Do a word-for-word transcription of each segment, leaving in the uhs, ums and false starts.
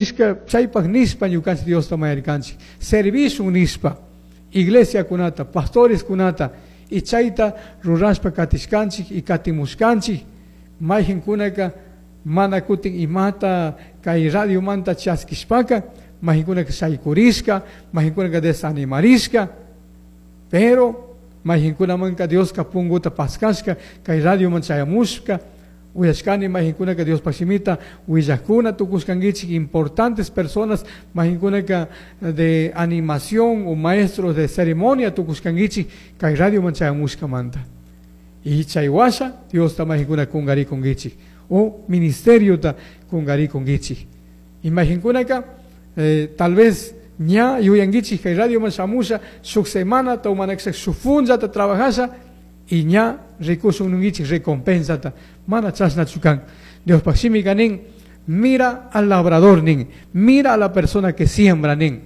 Chaypaq nishpa ñukanchik Diosta mañarkanchik servishun nishpa iglesiakunata pastoreskunata y chayta rurashpa katishkanchik y katimushkanchik mayqinkunaka mana kutin imata kay radiomanta chaskishpaka mayqinkunaka shaykurishka mayqinkunaka desanimarishka pero mayqinkunamanka Dioska punguta paskashka kay radioman chayamushka uyashkani mayqinkunaka Diospaq shimita willakuna tukushkankichik importantes personas mayqinkunaka de animación o maestros de ceremonia tukushkankichik kay radioman chayamushkamanta y chay washa Diosta mayqinkuna kunkarikunkichik o ministeriota kunkarikunkichik y mayqinkunaka eh, tal vez ña yuyankichik kay radioman shamusha shuk semanata o mana shuk punllata trabajasha y ña rikushun ninkichik recompensata mana chashnachu kan Diospaq shimika nin mira al labrador nin mira a la persona que siembra nin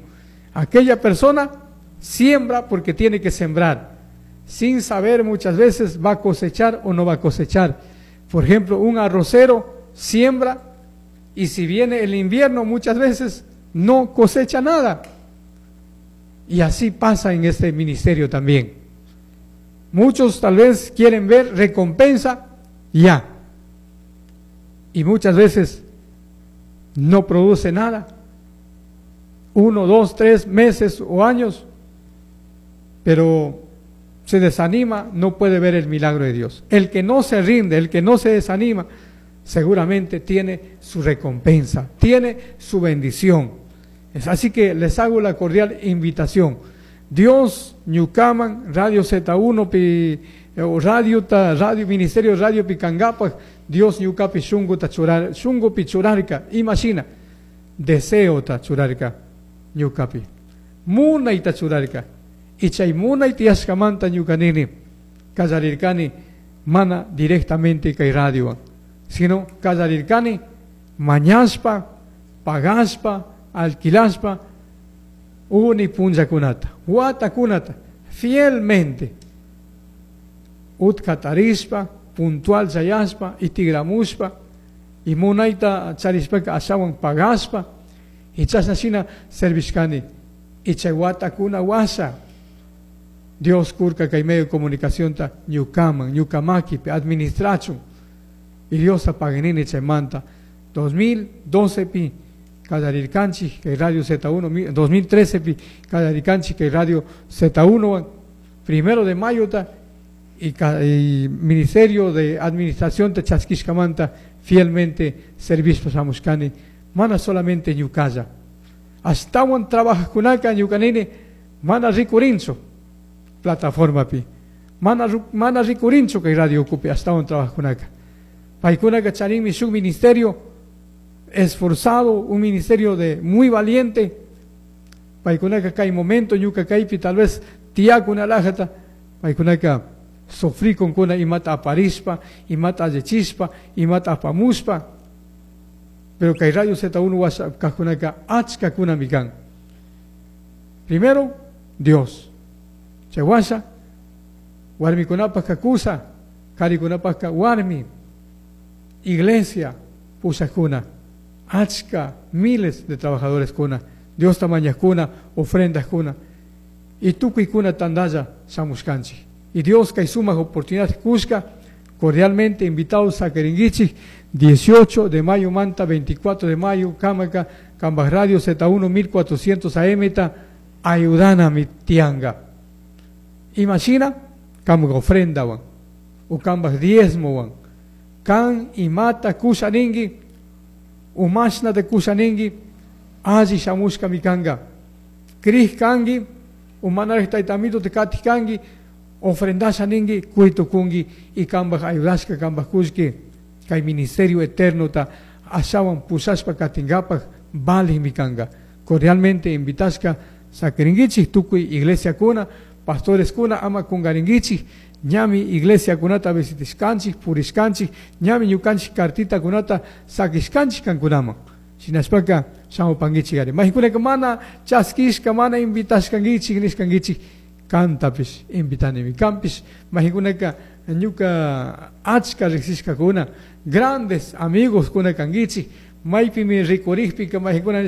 aquella persona siembra porque tiene que sembrar sin saber muchas veces va a cosechar o no va a cosechar. Por ejemplo, un arrocero siembra y si viene el invierno muchas veces no cosecha nada. Y así pasa en este ministerio también. Muchos tal vez quieren ver recompensa ya. Y muchas veces no produce nada. Uno, dos, tres meses o años. Pero se desanima, no puede ver el milagro de Dios. El que no se rinde, el que no se desanima, seguramente tiene su recompensa, tiene su bendición. Es así que les hago la cordial invitación. Dios, ñukaman, Radio Z uno, pi, o Radio, ta, Radio Ministerio Radio pi kangapaj, Dios ñukapi shunguta churar, shungupi churarka, imagina, deseota churarka, ñukapi, munayta churarka, y chay munay tiyashkamanta ñuka nini, kallarirkani, mana directamente kay radio, sino kallarirkani, mañashpa, pagashpa, alquilashpa, uni punllakunata, watakunata, fielmente, utkatarishpa, puntual chayashpa, y tigramushpa, y munayta charishpaka ashawan pagashpa, y chashna shina servishkani, y chay watakuna washa, Dios kurka kay medio de comunicación ta ñukaman, ñukamakipi, administrachun, y Dios apaganini chaymanta, dos mil doce pi, kallarirkanchik kay Radio Z uno, dos mil trece pi, kallarirkanchik kay Radio Z uno, primero de mayo ta, y ca-, y Ministerio de Administración de Chaskishkamanta fielmente servicio shamushkani, mana solamente ñukalla. Ashtawan trabajajkunaka ñukanini, mana rikurinchu plataforma pi, mana ru-, mana rikurinchu kay radio kupi, ashtawan trabajajkunaka. Paykunaka charinmi shuk ministerio esforzado, un ministerio de muy valiente. Paykunaka kay momento ñuka kaypi tal vez tiyakuna lajata, paykunaka sufrí con kuna imata aparishpa, imata allichispa, imata apamushpa. Pero kay Radio Z uno washa kajkunaka achka kunami kan. Primero, Dios. Chay washa, warmikunapaj kakusa, karikunapaj ka warmi, iglesia, pushakuna, achka, miles de trabajadores kuna, Dios tamañakuna, ofrendas kuna, y tukuykuna tandalla shamushkanchik. Y Dios kay sumaq oportunidad kushka, cordialmente invitados a Queringuichi, dieciocho de mayo manta, veinticuatro de mayo, Kamaka, Kambaj Radio Z uno mil cuatrocientos A M ta, ayudana mi tianga. Imagina, kambaj ofrenda wan, o kambaj diezmo wan, kan imata kushaningi, umashna de kushaningi, alli shamushka mi kanga. Krij kangi, umanaraj taytamito te katij kangi, ofrendasha ningi, kuito kungi, y kambaj ayudashka, kambaj kushki, kay ministerio eterno ta ashawan pushashpa katingapaj, valij mi kanga. Cordialmente invitashka sakiringichik, tukuy iglesia kuna, pastores kuna, ama kungaringichik, ñami iglesia kunata visitishkanchik, purishkanchik, ñami ñukanchik kartita kunata sakishkanchik kankunaman. Shinashpaka shamupankichik ari. Mahikunaka mana chaskishka, mana invitashkankichik, nishkankichik, kantapish invitanimi. Kampish mahikunaka ñuka achka riksishkakuna, grandes amigos kuna kankichik, Maypimi rikurikpika maykuna.